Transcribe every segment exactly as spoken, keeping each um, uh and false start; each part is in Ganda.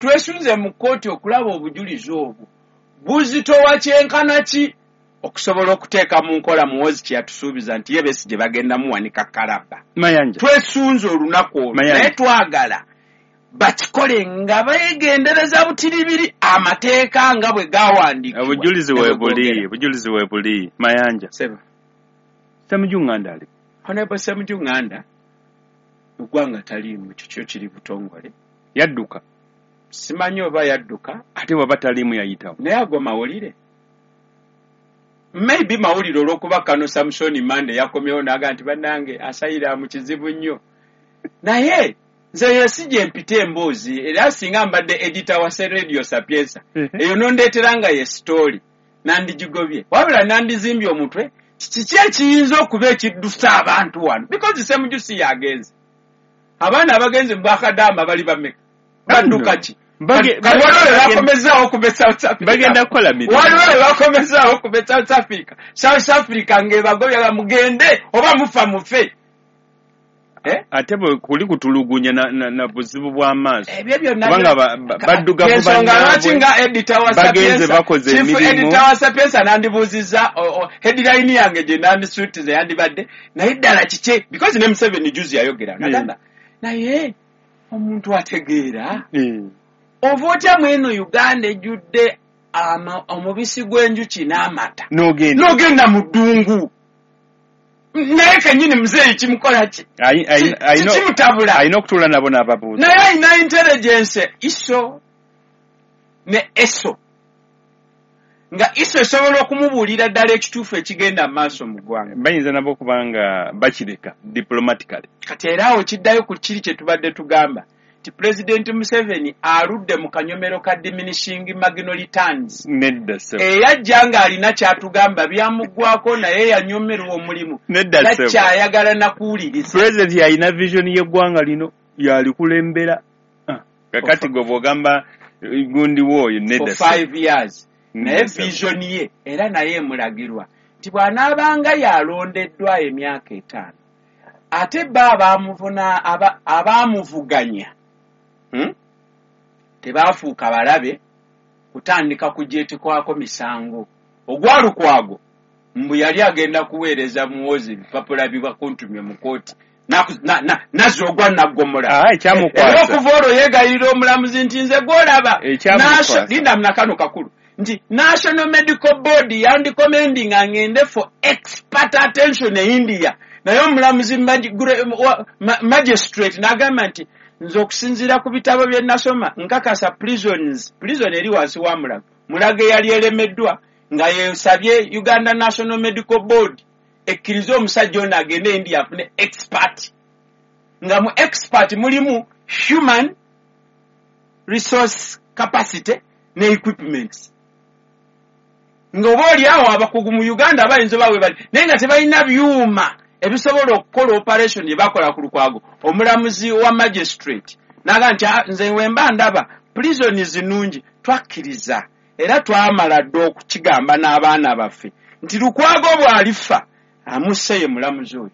Twesunze mu kkooti okulaba obujulizi obwo buzitowa kyenkana ki okusobola okuteeka mu nkola Muhoozi kye yatusuubiza nti ye Besigye bagenda muwanika kalabba. Mayanja. Twesunze olunaku olwo, Mayanja. naye twagala bakikole nga beegendereza butiribiri amateeka nga bwe gawandiikibwa. Obujulizi Ne bwe weebuli, googera. obujulizi weebuli, Mayanja. Seba. Ssemujju Nganda ali. Honorable Ssemujju Nganda mu ggwanga taliimu, ekyo kyo kiri butongole. Yadduka. Simanyi oba yadduka. Ate bw'aba taliimu yayitawo. Naye ago mawulire. Maybe mawulire olw'okuba Kano Samson Mande yakomyewo n'agamba nti bannange asayira mu kizibu nnyo. Naye nze yesi gye mpita emboozi, era singa mbadde editor wa Radio Sapienza, eyo nondeetera nga ye story, nandigigobye. Wabula nandizimbye omutwe, kiki ekiyinza okuba ekiddusa abantu wano? Because Ssemujju si yagenze. Abaana abagenze mu Bwakadaama bali bameka? Badduka ki? Bage- Kati waliwo lwe bagenda- bakomezaawo okuva e South Africa. Bagenda kukola mirimu. Waliwo lwe bakomezaawo okuva e South Africa. South Africa ng'ebagobya mugende oba mufa mufe. Eh? Ate bwe kuli kutulugunya na, na, na buzibu bw'amaaso. Ebyo byonna Kubanga byo- ba- ba- baddugavu Ensonga bannaabwe, lwaki nga editor wa bagenze Sapienza, bakoze chief emirimu. editor wa Sapienza nandibuuzizza, o- o, headline yange gye nandisuutize yandibadde, naye ddala kiki? Because ne Museveni juzi yayogera, nagamba, naye omuntu ategeera. Eh. Ova otya mweno Uganda ejjudde ama-, omubisi gw'enjuki n'amata? N'ogenda. N'ogenda mu ddungu. Naye kennyini muzeeyi kimukola ki? Ayi-, ayi-, Ki-, ayina-, kimutabula. Alina okutuula nabo n'ababuuza. Naye alina intelligence ISO ne ESO. Nga ISO esobola okumubuulira ddala ekituufu ekigenda mu maaso mu ggwanga. Bayinza nabo okuba nga bakireka diplomatically. Kati era awo kiddayo ku kiri kye tubadde tugamba nti President Museveni aludde mu kanyomero ka diminishing marginal returns. Nedda ssebo. Eyajja ng'alina ky'atugamba byamuggwako naye yanyomerwa omulimu. Nedda ssebo. Takyayagala na kuwuliriza. President yalina vision y'eggwanga lino yalikulembera. Ah, kakati gwe bw'ogamba gundi w'oyo nedda For ssebo. five years. Nedda Naye ssebo. vision ye era naye emulagirwa nti bw'anaabanga yalondeddwa emyaka etaano ate bo abaamuvuna, aba, abaamuvuganya, hmm? tebaafuuka balabe kutandika kugyetekwako misango. Ogwa Lukwago mbu yali agenda kuweereza Muhoozi ebipapula bibakuntumye mu kkooti. Naku-, na-, na-, nazza ogwa naggomola. Ah, ekyamukwasa. Era okuva olwo yeegayirira omulamuzi nti nze gw'olaba. Ekyamukwasa. Nasho-, linda nakano kakulu. Nti National Medical Board yandicommendinga ngende for expert attention e India. Naye omulamuzi magi-, gre-, wa-, ma-, magistrate n'agamba nti nze okusinziira ku bitabo bye nasoma nkakasa prisons, prison eri wansi wa Mulago. Mulago eyali eremeddwa nga yesabye Uganda National Medical Board ekkirize omusajja ono agende India afune expert. Nga mu expert mulimu human resource capacity ne equipment. Nga oba oli awo abakugu mu Uganda bayinza oba we bali, naye nga tebalina byuma ebisobola okukola operation gye bakola ku Lukwago. Omulamuzi wa magistrate n'agamba nti, ah, nze we mba ndaba prisons nnungi, twakkiriza era twamala dda okukigamba n'abaana baffe nti Lukwago bw'alifa amusse ye mulamuzi oyo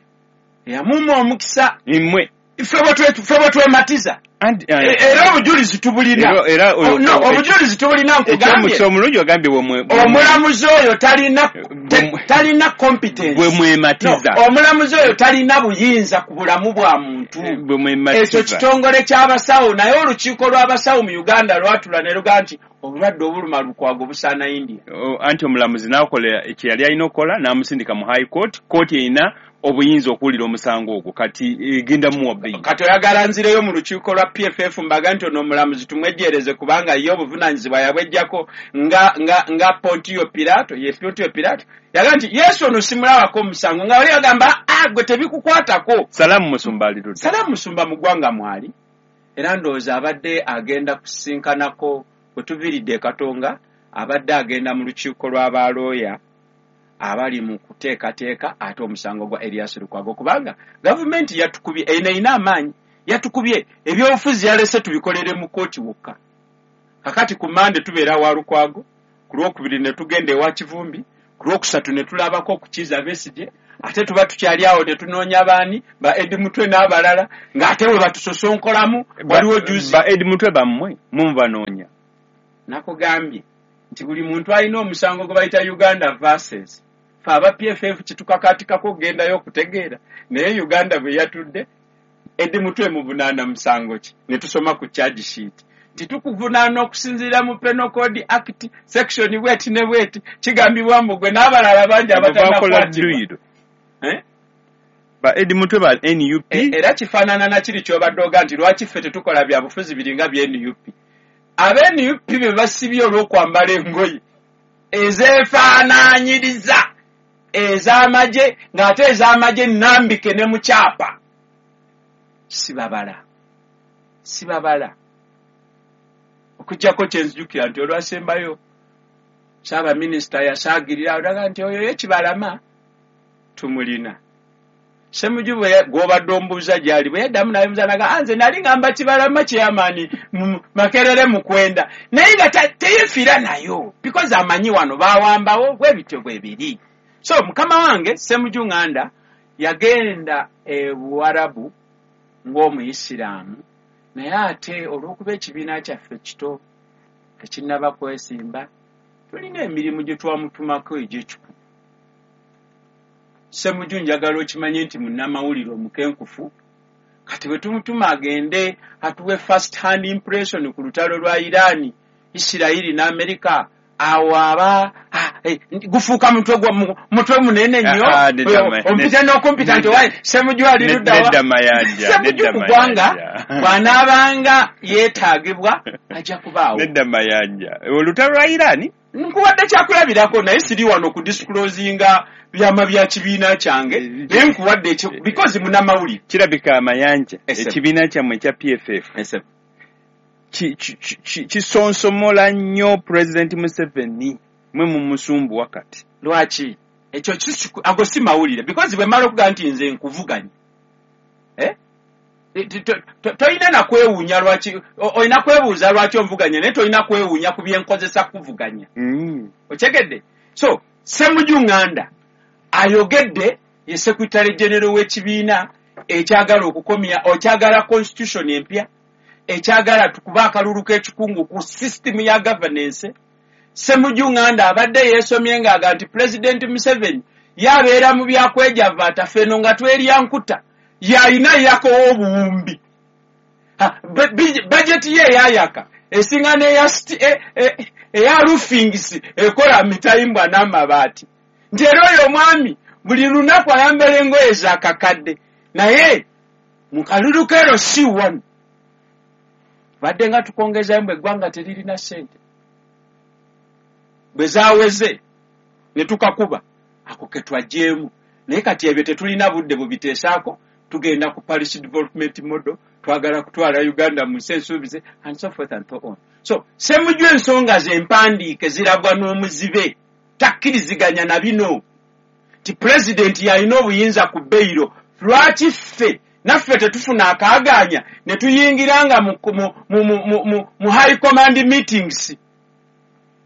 eyamumma omukisa. Mmwe. Ffe bwe twe-, ffe bwe twematiza. And, uh, E-, era obujulizi tubulina. Era, era, Oh, no, o-, obujulizi tubulina nkugambye. Ekyomukisa omulungi ogambye bwe mwe-, bwe mwe- Omulamuzi oyo talina Bwe te-, mwe- talina competence. Bwe mwematiza. No, omulamuzi oyo talina buyinza ku bulamu bwa muntu. Bwe mwematiza. Ekyo kitongole ky'abasawo, naye olukiiko lw'abasawo mu Uganda lwatula ne lugamba nti obulwadde obuluma Lukwago busaana India. O, anti omulamuzi n'akola kye yali alina okukola, n'amusindika mu High Court. Kooti erina obuyinza okuwulira omusango ogwo, kati egenda muwa bbeeyi. Kati oyagala nzireyo mu lukiiko lwa P F F mbaga nti ono omulamuzi tumwejjeereze kubanga ye obuvunaanyizibwa yabweggyako nga, nga, nga Pontio Pilato, ye Pontio Pilato. Yagamba nti Yesu ono simulabako omusango, nga bali bagamba, ah, gwe tebikukwatako. Salaamu Musumba ali ludda. Salaamu Musumba mu ggwanga mwali, era ndowooza abadde agenda kusisinkanako bwe tuviiridde e Katonga, abadde agenda mu lukiiko lw'abalooya abali mu kuteekateeka ate omusango gwa Erias Lukwago, kubanga gavumenti yatukubye, eno erina amaanyi, yatukubye ebyobufuzi yalese tubikolere mu kkooti wokka. Kakati ku Mande tubeera wa Lukwago, ku Lwokubiri ne tugenda ewa Kivumbi, Ku lwokusatu ne tulabako okukiza Besigye, ate tuba tukyali awo ne tunoonya baani ba Eddie Mutwe n'abalala, ng'ate we batusosonkolamu. Waliwo juzi ba Eddie Mutwe bammwe mumubanoonya. Nakugambye nti buli muntu alina omusango gwe bayita Uganda versus fe aba P F F kitukakatikako okugendayo okutegeera, naye Uganda bwe yatudde Eddie Mutwe muvunaana musango ki? Ne tusoma ku charge sheet nti tukuvunaana okusinziira mu Penal Code Act section bweti ne bweti, kigambibwa mbu gwe n'abalala bangi abatannakwatibwa. Eh? Ba Eddie Mutwe ba N U P. Era kifaanana na kiri ky'obadde oga nti lwaki ffe tetukola bya bufuzi biringa bya N U P. Aba N U P be basibye olw'okwambala engoye ezeefaanaanyiriza ez'amagye, ng'ate ez'amagye nnambike ne mu kyapa. Sibabala, sibabala. Okuggyako kye nzijukira nti olwasembayo Ssaabaminisita yasaagirira olaga nti oyo ye Kibalama tumulina. Ssemujju gw'obadde ombuuza gy'ali bwe yaddamu n'ayimuza n'agamba, nze nali ngamba Kibalama chairman Makerere Mukwenda, naye nga teyeefiira nayo because amanyi wano baawambawo bwe bityo bwe biri. So mukama wange Ssemujju Nganda yagenda e Buwarabu ng'Omuyisiraamu, naye ate olw'okuba ekibiina kyaffe kito tekinnaba kwesimba, tulina emirimu gye twamutumako egy'ekikugu. Ssemujju njagala okimanye nti munnamawulire omukenkufu, kati bwe tumutuma agende atuwe first hand impression ku lutalo lwa Iran, Isirayiri ne Amerika, awo aba gufuuka mutwe gwa mutwe munene nnyo. Ompita n'okumpita nti wayi Ssemujju ali ludda wa? Ssemujju ku ggwanga bw'anaabanga yeetaagibwa ajja kubaawo. Nedda Mayanja, olutalo lwa Iran nkuwadde kyakulabirako, naye siri wano ku disclosinga byama bya kibiina kyange, naye nkuwadde ekyo because munnamawulire. Kirabika Mayanja, ekibiina kyammwe ekya P F F kisonsomola nnyo President Museveni, mwe mumusumbuwa kati. Lwaki? Ekyo ago si mawulire because bwe mmala okugamba nti nze nkuvuganya, eh? Tolina na kwewuunya lwaki, olina kwebuuza lwaki onvuganya, naye tolina kwewuunya ku byenkozesa kuvuganya. Okyegedde? So Ssemujju Nganda ayogedde, ye Secretary General w'ekibiina ekyagala okukomya, okyagala constitution empya, ekyagala tukuba akalulu k'ekikungu ku system ya governance. Ssemujju Nganda abadde yeesomye ng'aga nti President Museveni yabeera mu byakwejavaata ffeno nga twerya nkuta, yalina yakowa obuwumbi. Bajeti ye eyayaka esinga n'eya eya roofings ekola mitayimbwa n'amabaati. Nti era oyo omwami buli lunaku ayambala engoye za kakadde, naye mu kalulu k'ero si wano badde nga tukongezayo mbu eggwanga teririna ssente. Bwe zaaweze ne tukakuba ako ke twaggyeemu, naye kati ebyo tetulina budde bubiteesaako. Tugenda ku Parish Development Model, twagala kutwala Uganda mu nsi ensuubize and so forth and so on. So Ssemujju ensonga ze mpandiike zirabwa n'omuzibe, takkiriziganya na bino nti pulezidenti yalina obuyinza ku beyiro. Lwaki ffe naffe tetufuna akaagaanya ne tuyingiranga mu, mu, mu, mu, mu, mu high command meetings?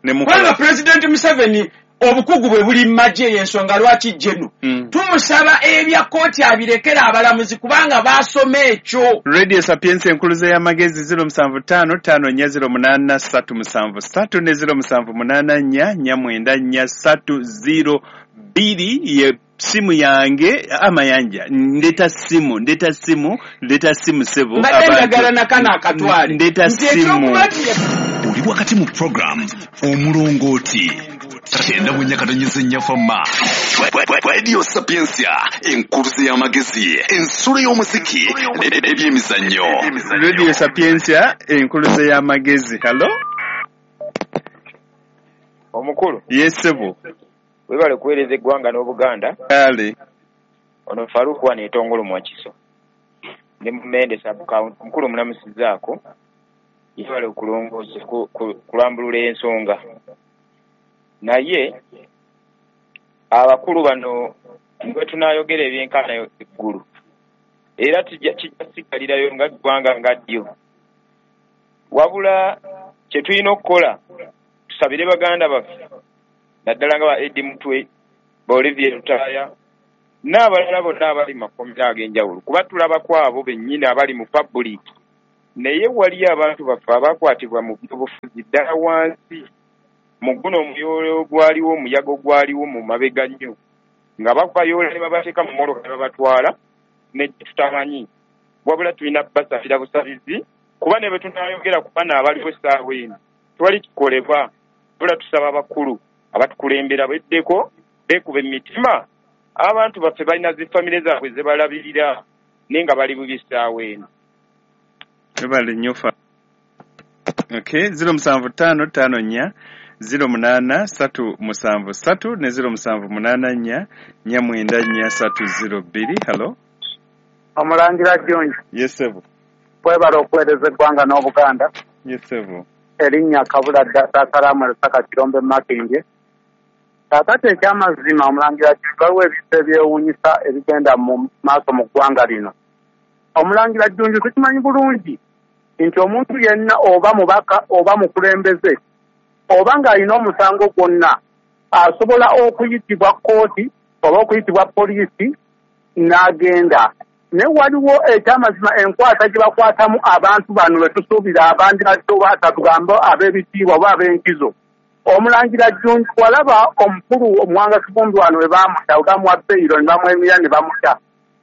Kubanga Pulezidenti Museveni obukugu bwe buli mu magye, y'ensonga lwaki jeno mm. tumusaba ebya kkooti abirekera abalamuzi kubanga baasoma ekyo. Radio Sapientia enkuluze y'amagezi ziro musanvu ttaano ttaano nnya ziro munaana ssatu musanvu ssatu ne ziro musanvu munaana nnya nnya mwenda nnya ssatu ziro bbiri ye simu yange. Amayanja, ndeta simu, ndeta simu, ndeta simu sebo. Mbadde njagala nakano akatwale. Ndeta simu. Oli wakati mu program Omulongooti kyenda bwe nyakatanyeze nnyafamma. Radio Sapientia enkuluze y'amagezi, ensulo y'omuziki n'ebyemizannyo. Radio Sapientia enkuluze y'amagezi. Hello? Omukulu. Yes sebo. Webale kuweereza eggwanga n'Obuganda. Kale. Ono Faruku wano etongolo Mwakiso. Ndi Mumende sub county. Omukulu mulamusizzaako. Yebale okulongoosa kulambulula ensonga. Naye abakulu bano bwe tunaayogera ebyenkana eggulu, era kijja sigalirayo nga ggwanga nga ddyo. Wabula kye tulina okukola, tusabire baganda baffe Naddala nga ba Eddie Mutwe, ba Olivier Lutaaya n'abalala bonna abali mu makomera ag'enjawulo, kuba tulaba ku abo bennyini abali mu public. Naye waliyo abantu baffe abakwatibwa mu byobufuzi ddala wansi mu guno omuyoolo ogwaliwo, omuyaga ogwaliwo mu mabega nnyo, nga babayoola ne babateeka mu mmotoka ne babatwala ne tutamanyi. Wabula tulina basabira busabizi, kuba ne bwe tunaayogera ku bano abaliwo essaawa eno tewali kikolebwa. Wabula tusaba abakulu abatukulembera beddeko, beekuba emitima. Abantu baffe balina zi famire zaabwe ze balabirira naye nga bali bubi essaawa eno. Webale nnyo fa. Okay, ziro musanvu ttaano ttaano nnya ziro munaana ssatu musanvu ssatu ne ziro musanvu munaana nnya nnya mwenda nnya ssatu ziro bbiri. Hello. Omulangira Junju. Yes sebo. Webale okuweereza eggwanga n'Obuganda. Yes sebo. Erinnya Kabula Ddasalamu Lusaka Kirombe Makindye. Kaakati ekyamazima Omulangira Junju, waliwo ebintu ebyewuunyisa ebigenda mu maaso mu ggwanga lino. Omulangira Junju, tukimanyi bulungi nti omuntu yenna oba mubaka oba mukulembeze oba ng'alina omusango gwonna asobola okuyitibwa kkooti oba okuyitibwa poliisi n'agenda. Naye waliwo ekyamazima enkwata gye bakwatamu abantu bano be tusuubira abandibadde oba tugambe ab'ebitiibwa oba ab'enkizo. Omulangira Junju, walaba omukulu Omuwanga Kivumbi wano we baamuta, we bamuwa beyiro ne bamwemira ne bamuta.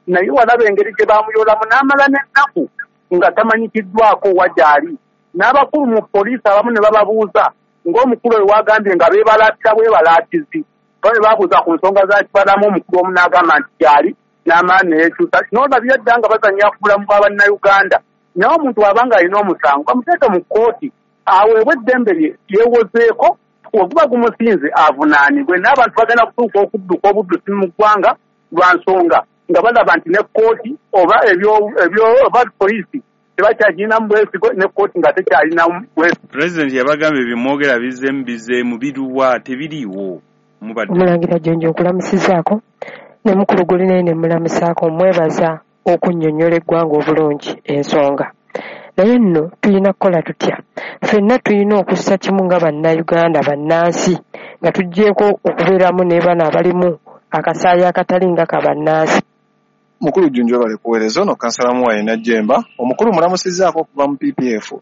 Naye walaba engeri gye baamuyolamu n'amala n'ennaku nga tamanyikiddwako wa gy'ali. N'abakulu mu poliisi abamu ne bababuuza ng'omukulu oyo wagambye nga beebalaatira bwebalaatizi. Nga bwe babuuza ku nsonga za Kibalamu, omukulu omu n'agamba nti gy'ali n'amala ne yeekyusa. N'olabira dda nga bazannya ku bulamu bwa Bannayuganda. Naye omuntu bw'aba ng'alina omusango bamuteeke mu kkooti aweebwe eddembe lye yeewozeeko, oguba gumusinze avunaanibwe. N'abantu bagenda kutuuka okudduka obuddusi mu ggwanga lwa nsonga nga balaba nti ne kkooti oba ebyo ebyo oba poliisi tebakyagirinamu bwesigo, ne kkooti nga tekyalinamu bwesigo. President yabagambye bimwogera bizzeemu bizzeemu biruwa tebiriiwo. Mubadde. Omulangira Junju, nkulamusizaako ne mukulu guli naye ne mulamusaako, mwebaza okunnyonnyola eggwanga obulungi ensonga. Naye nno tulina kukola tutya? Ffenna tulina okussa kimu nga Bannayuganda bannansi, nga tuggyeeko okubeeramu ne bano abalimu akasaayi akatali nga ka bannansi. Mukulu Junju webale kuweereza. Ono kansala Muwaye Najjemba. Omukulu mulamusizzaako okuva mu P P F.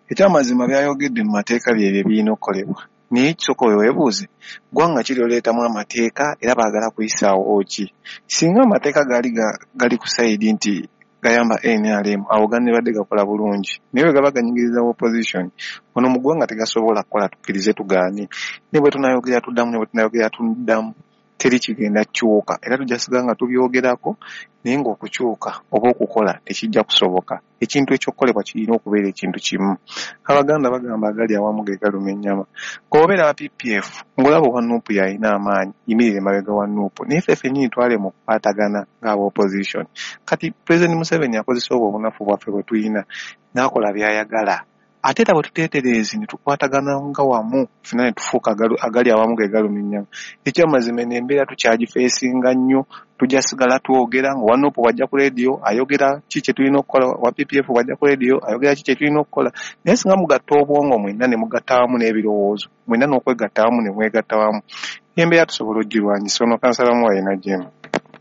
Ekyamazima byayogedde mu mateeka byebyo ebirina okukolebwa. Naye kisooka weebuuze, ggwanga ki lyoleetamu amateeka era baagala kuyisaawo ki? Singa amateeka gaali gali ku sayidi nti gayamba N R M, awo gandibadde gakola bulungi. Naye bwe gaba ganyigiriza opposition, ono mu ggwanga tegasobola kukola, tukkirize tugaane. Ne bwe tunaayogera tuddamu, ne bwe tunaayogera tuddamu, teri kigenda kukyuka. Era tujja sigala nga tubyogerako, naye ng'okukyuka oba okukola tekijja kusoboka. Ekintu ekyokukolebwa kirina okubeera ekintu kimu. Abaganda bagamba agali awamu ge galuma ennyama. Bw'obeera wa P P F, ng'olaba owa Nuupu y'alina amaanyi, yimirira emabega wa Nuupu. Naye ffe ffennyini twale mu kukwatagana ng'aba opposition. Kati President Museveni akozesa obwo obunafu bwaffe bwe tulina, n'akola by'ayagala. Ate era bwe tuteetereezi ne tukwatagana nga wamu, ffenna ne tufuuka agali awamu ge galuma ennyama. Ekyamazima eno embeera tukyagifeesinga nnyo, tujja sigala twogera nga owa Nuupu bw'ajja ku leediyo ayogera ki kye tulina okukola, owa P P F bw'ajja ku leediyo ayogera ki kye tulina okukola. Naye singa mugatta obwongo mwenna ne mugatta wamu n'ebirowoozo, mwenna n'okwegatta wamu ne mwegatta wamu, embeera tusobola okugirwanyisa. Ono kansala Muwaye Najjemba.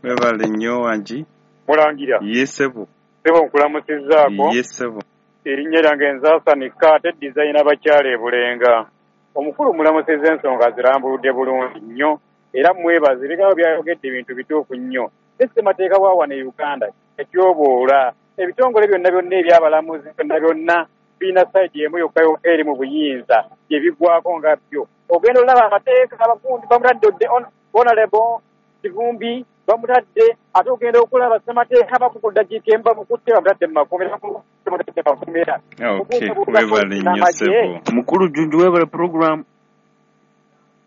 Webale nnyo Wangi. Mulangira. Yes sebo. Sebo nkulamusizzaako. Yes sebo. Erinnya lyange Nzaasanika ate dizayina bakyala e Bulenga. Omukulu mulamusizza ensonga azirambuludde bulungi nnyo era mwebaza, ebigambo byayogedde ebintu bituufu nnyo. Ssemateeka wa wano e Uganda ekyoboola ebitongole byonna byonna ebyabalamuzi byonna byonna birina sayidi emu yokka yokka eri mu buyinza gye biggwako nga byo. Ogenda olaba amateeka abagundi bamutadde Honorable Kivumbi bamutadde, ate ogenda okulaba ssemateeka bakuku ddakiika emu bamukutte bamutadde mu makomera, bamutadde mu makomera. Okay, webale nnyo ssebo. Mukulu Junju webale program.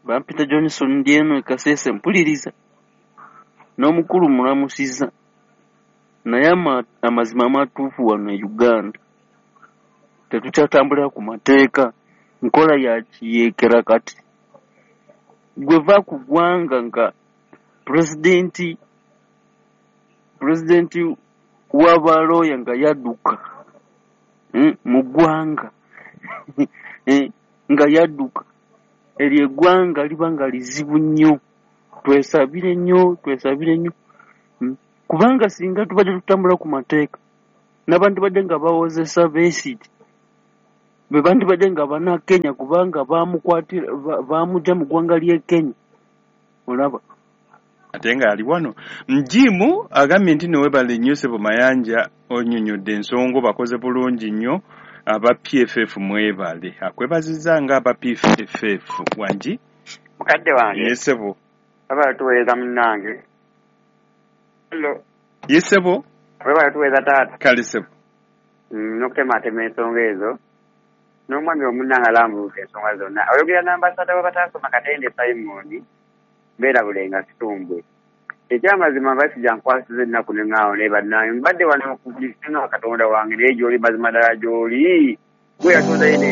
Bampita Johnson ndi eno e Kasese mpuliriza. N'omukulu mulamusizza. Naye amazima amatuufu wano e Uganda tetukyatambulira ku mateeka, nkola ya kiyeekera kati. Gwe va ku ggwanga nga pulezidenti pulezidenti w'abalooya nga yadduka mm, mu ggwanga nga yadduka. Eryo eggwanga liba nga lizibu nnyo, twesabire nnyo, twesabire nnyo. Mm. Kubanga singa tubadde tutambula ku mateeka, n'abantu badde nga bawozesa Besigye be bandibadde nga Bannakenya, kubanga bamukwatira bamuggya mu ggwanga ly'e Kenya, olaba. Ate nga ali wano Njimu agambye nti newebale nnyo ssebo Mayanja, onnyonnyodde ensonga, bakoze bulungi nnyo aba P F F, mwebale. Akwebazizza nga aba P F F. Wangi mukadde wange. Ye ssebo. Webale tuweereza munnange. Hello. Ye ssebo. Webale tuweereza taata. Kale ssebo. N'okutematema ensonga ezo n'omwami omunnange alambuluka ensonga zonna. Oyogera n'ambasada w'abataasoma Katende Simon, mbeera Bulenga Kitumbwe. Ekyamazima Basijja nkwasiza ennaku ne ŋŋaawo naye bannange mbadde wano okukulisinga Katonda wange, naye gy'oli mazima ddala gy'oli gwe yatonda ye ne.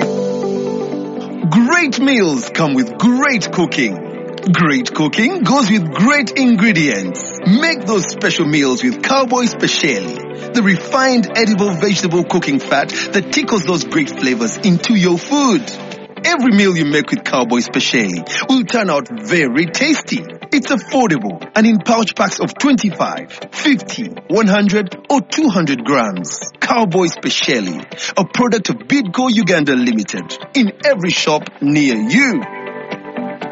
Great meals come with great cooking. Great cooking goes with great ingredients. Make those special meals with Cowboy Speciale, the refined edible vegetable cooking fat that tickles those great flavors into your food. Every meal you make with Cowboy Speciale will turn out very tasty. It's affordable and in pouch packs of twenty-five, fifty, one hundred or two hundred grams. Cowboy Speciale, a product of Bidco Uganda Limited, in every shop near you.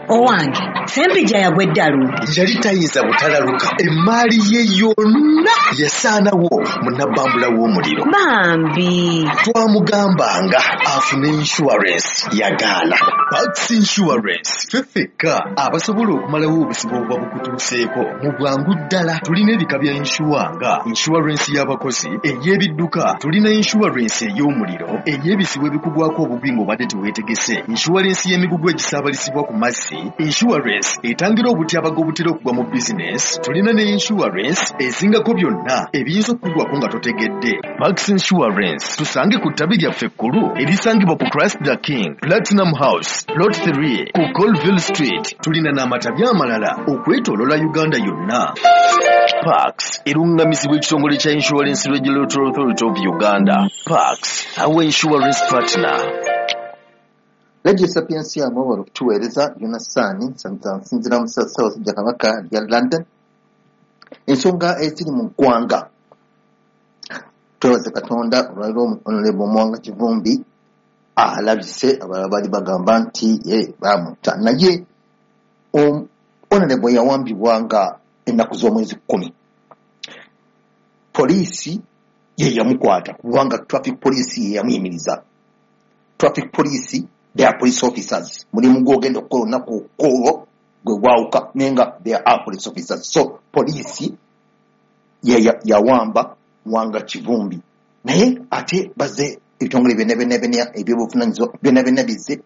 Owange, Ssempijja yagwa eddalu. Yali tayinza butalaluka, emmaali ye yonna yasaanawo mu nnabbambula w'omuliro. Bambi. Twamugambanga afune insurance, yagaana. Pax Insurance, ffe ffekka abasobola okumalawo obuzibu obuba bukutuuseeko mu bwangu ddala. Tulina ebika bya insure nga insurance y'abakozi, ey'ebidduka, tulina insurance ey'omuliro, ey'ebizibu ebikugwako obubi ng'obadde teweetegese, insurance y'emigugu egisaabalizibwa ku mazzi, insurance etangira obutyabaga obutera okugwa mu bizinesi, tulina ne insurance ezingako byonna ebiyinza okukugwako nga totegedde. Pax Insurance, tusange ku ttabi lyaffe ekkulu erisangibwa ku Christ the King Platinum House Lot three ku Colville Street. Tulina n'amatabi amalala okwetooloola Uganda yonna. Pax erungamizibwa ekitongole kya Insurance Regulatory Authority of Uganda. Pax, our insurance partner. Radio Sapientia mwebale okutuweereza. Yonasaani nsinziira mu Ssaabasajja Kabaka lya London. Ensonga eziri mu ggwanga, twebaze Katonda olwaleero Honorable Muwanga Kivumbi alabise. Abalala bali bagamba nti ye baamutta, naye Honorable yawambibwa nga ennaku z'omwezi kkumi. Poliisi ye yamukwata kubanga traffic police ye yamuyimiriza. Traffic police, they are police officers. Mulimu gw'ogenda okukola olunaku olwo gwe gwawuka, naye nga they are police officers. So poliisi ye yawamba Muwanga Kivumbi, naye ate bazze ebitongole byonna byonna byonna ebyobuvunaanyizibwa byonna byonna bizze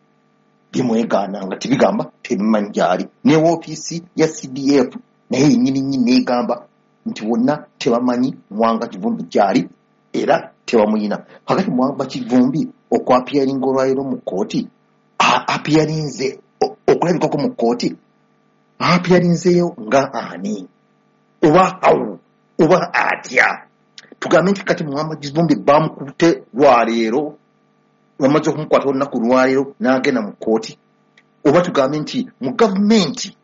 bimwegaana nga tebigamba tebimanyi gy'ali. Ne woofiisi ya C D F naye yennyini nnyini neegamba nti bonna tebamanyi Muwanga Kivumbi gy'ali era tebamuyina. Kakati Muwanga Kivumbi okwapiyaringa olwaleero mu kkooti, apiyarinze okulabikako mu kkooti, apiyarinzeeyo nga ani oba awo oba atya? Tugambe nti kati Muwanga Kivumbi bamukutte lwaleero, bamaze okumukwata olunaku lwaleero n'agenda mu kkooti, oba tugambe nti mu gavumenti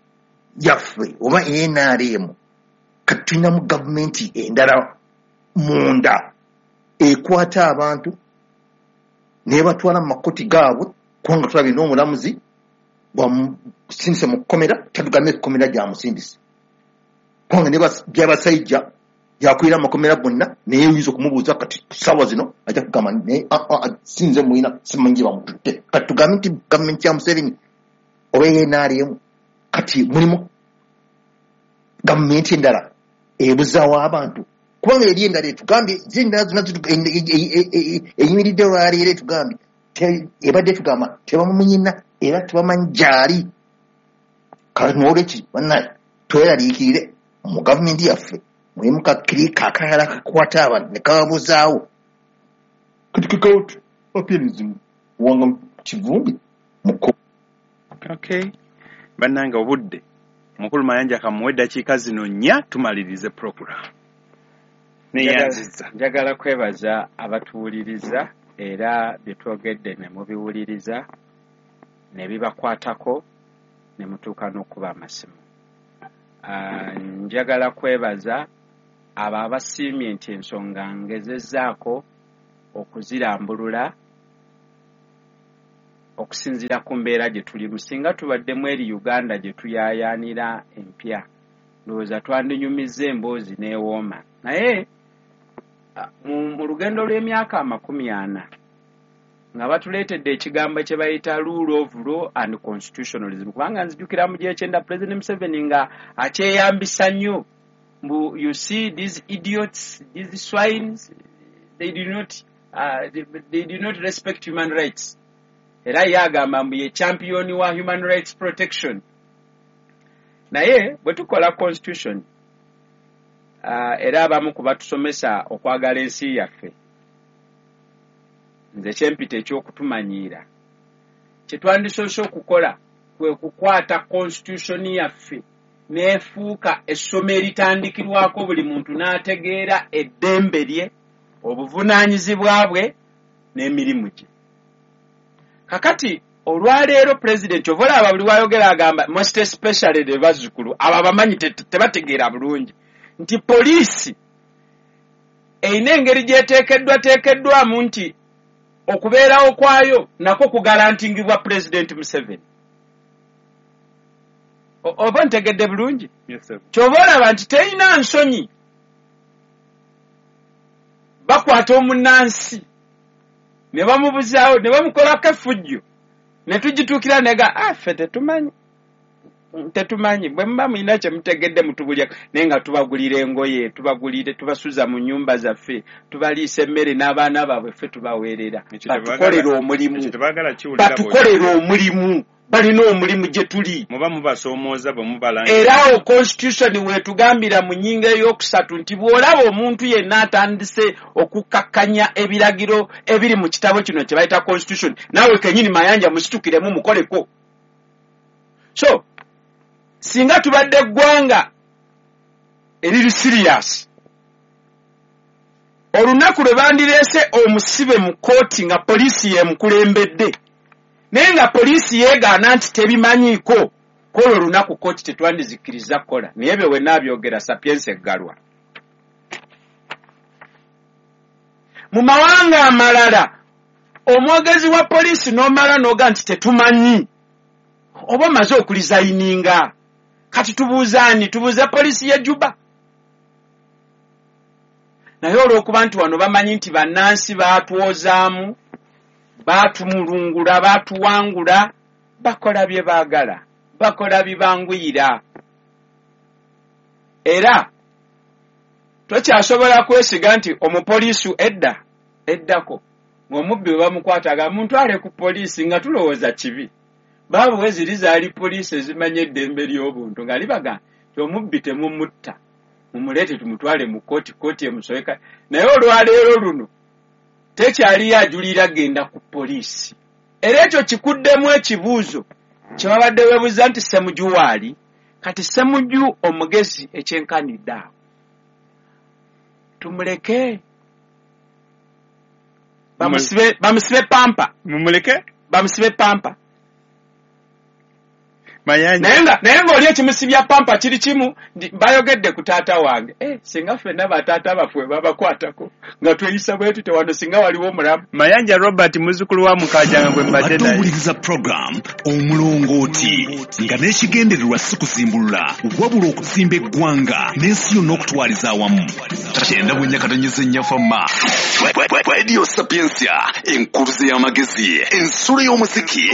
yaffe oba N R M kati tulinamu gavumenti endala munda ekwata abantu nebatwala mu makooti gaabwe, kubanga tulabye n'omulamuzi bwamusindise mu kkomera, tatugambe ekkomera gyamusindise, kubanga ne byabasajja yakwira amakomera gonna, naye oyinza okumubuuza kati ssaawa zino ajja kugamba naye sinze muyina simanyi gye bamututte. Kati tugambe nti gavumenti ya Museveni oba N R M kati mulimu gavumenti endala ebuzaawo abantu, kubanga eri endala etugambye zendala zonna eyimiridde olwaleero etugambye ebadde etugamba tebamumunyina era tebamanyi gy'ali. Kale n'olwekyo bannaye tweraliikirire mu gavumenti yaffe mulimu kakirika akalala kakwata abantu ne kababuzaawo. Kati kekawuti appearance Muwanga Kivumbi muko. Okay, bannange obudde Mukulu Mayanja kamuwe eddakiika zino nnya tumalirize program. Neyanziza. Njagala kwebaza abatuwuliriza era bye twogedde ne mubiwuliriza ne bibakwatako. ne mutuuka n'okuba amasimu. Uh, njagala kwebaza abo abasiimye nti ensonga ngezezzaako okuzirambulula okusinziira ku mbeera gye tulimu. Singa tubaddemu eri Uganda gye tuyaayaanira empya, ndowooza twandinyumizza emboozi n'ewooma. Naye mu lugendo lw'emyaka amakumi ana nga batuleetedde ekigambo kye bayita rule of law and constitutionalism, kubanga nzijukira mu gy'ekyenda President Museveni nga akyeyambisa nnyo mbu you see these idiots, these swines, they do not, uh, they, they do not respect human rights. Era ye agamba mbu ye champion wa human rights protection. Naye bwe tukola constitution, uh, era abamu ku batusomesa okwagala ensi yaffe, nze kyempita ekyokutumanyiira, kye twandisoose okukola kwe kukwata constitution yaffe n'efuuka essomo eritandikirwako buli muntu n'ategeera eddembe lye, obuvunaanyizibwa bwe n'emirimu gye. Kakati olwaleero pulezidenti ova olaba buli wayogera agamba most especially the bazzukulu abo abamanyi tebategeera bulungi nti poliisi erina engeri gy'eteekeddwa teekeddwamu nti okubeerawo kwayo nakwo kugalantingibwa Pulezidenti Museveni. Oba ntegedde bulungi? Ky'ova olaba nti terina nsonyi, bakwata omunnansi ne bamubuzaawo ne bamukolako effujjo ne tugituukira nega ah ffe tetumanyi tetumanyi bwe muba mulina kye mutegedde mutubulya, naye nga tubagulira engoye, tubagulire, tubasuza mu nnyumba zaffe, tubaliisa emmere n'abaana baabwe ffe tubaweerera, batukolera omulimu, batukolera omulimu, balina omulimu gye tuli. Muba mubasoomooza bwe mubalangira. Era awo constitution weetugambira mu nnyingo ey'okusatu nti bw'olaba omuntu yenna atandise okukakkanya ebiragiro ebiri mu kitabo kino kye bayita constitution, naawe kennyini Mayanja musitukiremu mukoleko. So singa tubadde eggwanga eriri serious, olunaku lwe bandireese omusibe mu kkooti nga poliisi yeemukulembedde, naye nga poliisi yeegaana nti tebimanyiiko, kwolwo olunaku kkooti tetwandizikkiriza kukola. Naye ebyo we naabyogera Sapienza eggalwa. Mu mawanga amalala omwogezi wa poliisi n'omala n'oga nti tetumanyi, oba omaze okulizayininga. Kati tubuuze ani? Tubuuze poliisi y'e Juba? Naye olw'okuba nti wano bamanyi nti bannansi baatwozaamu, baatumulungula, baatuwangula, bakola bye baagala, bakola bibanguyira. Era tokyasobola kwesiga nti omupoliisi edda eddako ng'omubbi bwe bamukwataga muntwale ku poliisi nga tulowooza kibi. Baabuwe ziri zaali poliisi ezimanya eddembe ly'obuntu nga libaga nti omubbi temumutta, mumuleete tumutwale mu kkooti, kkooti emusoeka. Naye olwaleero luno tekyaliyo ajulira genda ku poliisi. Era ekyo kikuddemu ekibuuzo kye babadde weebuuza nti Ssemuju waali. Kati Ssemuju omugezi ekyenkanidde awo, tumuleke bamusibe, bamusibe pampa, mumuleke bamusibe pampa. Mayanja. Naye ng'oli ekimusibya pampa kiri kimu, bayogedde ku taata wange. Eh, singa ffenna bataata baffe babakwatako nga tweyisa bwe tutyo wano singa waliwo omulamu. Mayanja Robert muzzukulu wa Mukajanga gwe mbadde naye. Owuliriza program Omulongooti nga n'ekigendererwa si kuzimbulula wabula okuzimba eggwanga n'ensi yonna okutwaliza awamu. Kyenda bwe nnyakatonyeza ennyafamma. Radio Sapientia, enkuluze y'amagezi, ensulo y'omuziki.